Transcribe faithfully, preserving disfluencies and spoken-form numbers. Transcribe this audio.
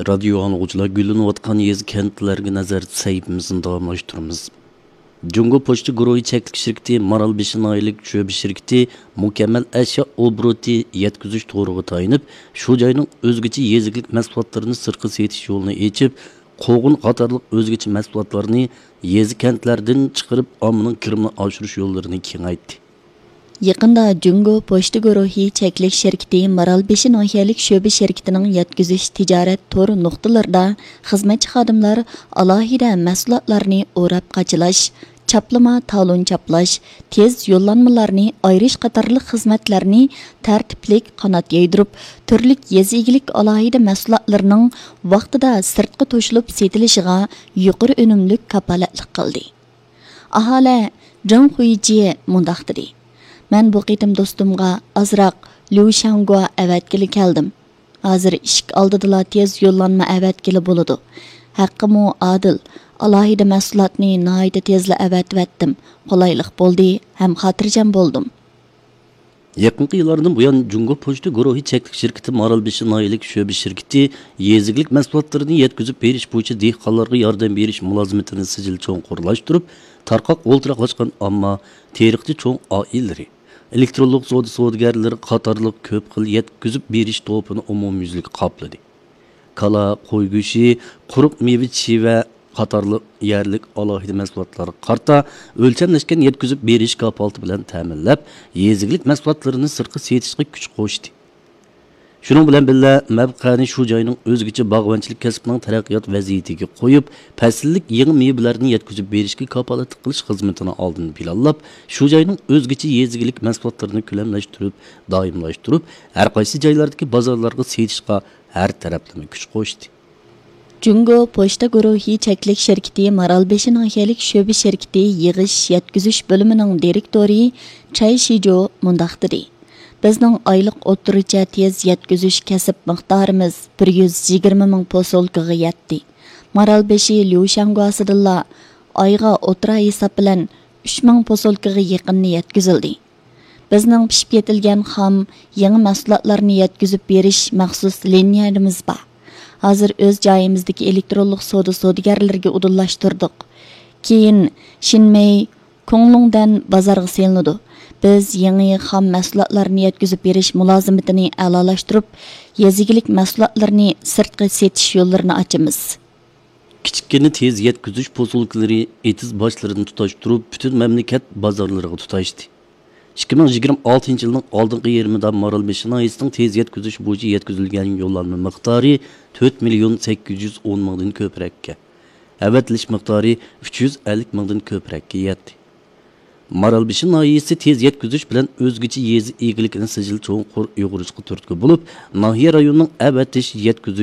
رادىيو ئاڭلىغۇچىلار، گۈللىنىۋاتقان يېزا، كەنتلەرگە نەزەر سەھىپىمىزنى داۋاملاشتۇرىمىز. جۇڭگو پوچتا گۇرۇھى چەكلىك شىركىتى مارالبېشى ناھىيەلىك شۆبە شىركىتى مۇكەممەل ئەشيا ئوبوروتى يەتكۈزۈش تورىغا تايىنىپ، شۇ جاينىڭ ئۆزگىچە يېزا ئىگىلىك مەھسۇلاتلىرىنى سىرتقا سېتىش يولىنى ئېچىپ، قوغۇن قاتارلىق ئۆزگىچە مەھسۇلاتلارنى يېزا، كەنتلەردىن چىقىرىپ، ئاممىنىڭ كىرىمىنى ئاشۇرۇش يوللىرىنى كېڭەيتتى. يېقىندا جۇڭگو پوچتا گۇرۇھى چەكلىك شىركىتى مارالبېشى ناھىيەلىك شۆبە شىركىتىنىڭ يەتكۈزۈش تىجارەت تور نۇقتىلىرىدا خىزمەتچى خادىملار ئالاھىدە مەھسۇلاتلارنى ئوراپ قاچىلاش، چاپلىما تالون چاپلاش، تېز يوللانمىلارنى ئايرىش قاتارلىق خىزمەتلەرنى تەرتىپلىك قانات يايدۇرۇپ، تۈرلۈك يېزا ئىگىلىك ئالاھىدە مەھسۇلاتلىرىنىڭ ۋاقتىدا سىرتقا توشۇلۇپ سېتىلىشىغا يۇقىرى ئۈنۈملۈك كاپالەتلىك قىلدى. ئاھالە جېڭ خۇيجيې مۇنداق دېدى: مەن بۇ قېتىم دوستۇمغا ئازراق ليۇ شياڭگۇا ئەۋەتكىلى كەلدىم. ھازىر ئىشىك ئالدىدىلا تېز يوللانما ئەۋەتكىلى بولىدۇ. ھەققىمۇ ئادىل، ئالاھىدە مەھسۇلاتنى ناھايىتى تېزلا ئەۋەتىۋەتتىم. قولايلىق بولدى ھەم خاتىرجەم بولدۇم. يېقىنقى يىللاردىن بۇيان، جۇڭگو پوچتا گۇرۇھى چەكلىك شىركىتى مارالبېشى ناھىيەلىك شۆبە شىركىتى يېزا ئىگىلىك مەھسۇلاتلىرىنى يەتكۈزۈپ بېرىش بويىچە دېھقانلارغا ياردەم بېرىش مۇلازىمىتىنى سىجىل چوڭقۇرلاشتۇرۇپ، تارقاق ئولتۇراقلاشقان ئامما، تېرىقچى چوڭ ئائىلىلىرى، ئېلېكترونلۇق سودا سودىگەرلىرى قاتارلىق كۆپ خىل يەتكۈزۈپ بېرىش توپىنى ئومۇميۈزلۈك قاپلىدى. كالا، قوي گۆشى، قۇرۇق مېۋە، چىۋە قاتارلىق يەرلىك ئالاھىدە مەھسۇلاتلارغا قارىتا ئۆلچەملەشكەن يەتكۈزۈپ بېرىش كاپالىتى بىلەن تەمىنلەپ، يېزا ئىگىلىك مەھسۇلاتلىرىنى سىرتقا سېتىشقا كۈچ قوشتى. شۇنىڭ بىلەن بىللە، مەۋقەنى شۇ جاينىڭ ئۆزگىچە باغۋەنچىلىك كەسپىنىڭ تەرەققىيات ۋەزىيىتىگە قويۇپ، پەسىللىك يېڭى مېۋىلەرنى يەتكۈزۈپ بېرىشكە كاپالەتلىك قىلىش خىزمىتىنى ئالدىن پىلانلاپ، شۇ جاينىڭ ئۆزگىچە يېزا ئىگىلىك مەھسۇلاتلىرىنى كۆلەملەشتۈرۈپ، دائىملاشتۇرۇپ، ھەر قايسى جايلاردىكى بازارلارغا سېتىشقا ھەر تەرەپلىمە كۈچ قوشتى. جۇڭگو پوچتا گۇرۇھى چەكلىك شىركىتى مارالبېشى ناھىيەلىك شۆبە شىركىتى يىغىش يەتكۈزۈش بۆلۈمىنىڭ دىرېكتورى چاي شىجو مۇنداق دېدى: بىزنىڭ ئايلىق ئوتتۇرىچە تېز يەتكۈزۈش كەسىپ مىقدارىمىز بىر يۈز يىگىرمە مىڭ پوسۇلكىغا يەتتى. مارالبېشى ليۇشياڭگۇاسىدىنلا ئايغا ئوتتۇرا ھېساب بىلەن ئۈچ مىڭ پوسۇلكىغا يېقىننى يەتكۈزۈلدى. بىزنىڭ پىشىپ يېتىلگەن خام، يېڭى مەھسۇلاتلارنى يەتكۈزۈپ بېرىش مەخسۇس لىنىيەمىز بار. ھازىر ئۆز جايىمىزدىكى ئېلېكترونلۇق سودا سودىگەرلىرىگە ئۇدۇللاشتۇردۇق. كېيىن شىنمېي، كۇڭلۇڭدەن بازارغا سېلىنىدۇ. بىز يېڭى خام مەھسۇلاتلارنى يەتكۈزۈپ بېرىش مۇلازىمىتىنى ئەلالاشتۇرۇپ، يېزا ئىگىلىك مەھسۇلاتلىرىنى سىرتقا سېتىش يوللىرىنى ئاچىمىز. كىچىككىنە تېز يەتكۈزۈش پوسۇلكىلىرى ئېتىز باشلىرىدىن تۇتاشتۇرۇپ، پۈتۈن مەملىكەت بازارلىرىغا تۇتاشتى. ئىككى مىڭ يىگىرمە ئالتىنچى يىلنىڭ ئالدىنقى يېرىمىدا مارالبېشى ناھىيەسىنىڭ تېز يەتكۈزۈش بويىچە يەتكۈزۈلگەن يوللانما مىقدارى تۆت مىليون سەككىز يۈز ئون مىڭدىن كۆپرەككە، ئەۋەتىلىش مىقدارى ئۈچ يۈز ئەللىك مىڭدىن كۆپرەككە يەتتى. مارالبېشى ناھىيەسى تېز يەتكۈزۈش بىلەن ئۆزگىچە يېزا ئىگىلىكىنى سىجىل چوڭقۇر ئۇيغۇرۇشقا تۈرتكە بولۇپ، ناھىيە رايونىنىڭ ئەۋەتىش، يەتكۈزۈش،